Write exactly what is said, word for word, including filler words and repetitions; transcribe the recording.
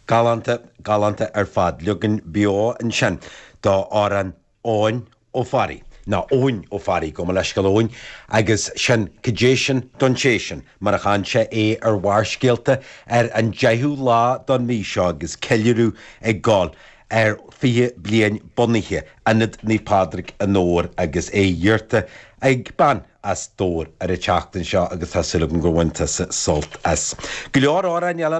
Galánta galánta ar fad leagan beo ansin d'amhrán Eoin Ó Fearraigh. ná Eoin Ó Fearraigh gabh mo leithscéal Eoin agus sin cad é sin don té sin mar a chan sé é ar Bharrscéalta ar an deichiú lá don mhí seo agus ceiliúradh ag gabháil ar fiche bliain bunaithe Ionad Naomh Pádraig i nDobhar agus é iarrta ag bean as Dobhar ar an tseachtain seo agus tá súil agam gur bhain tusa sult as. Go leor amhráin eile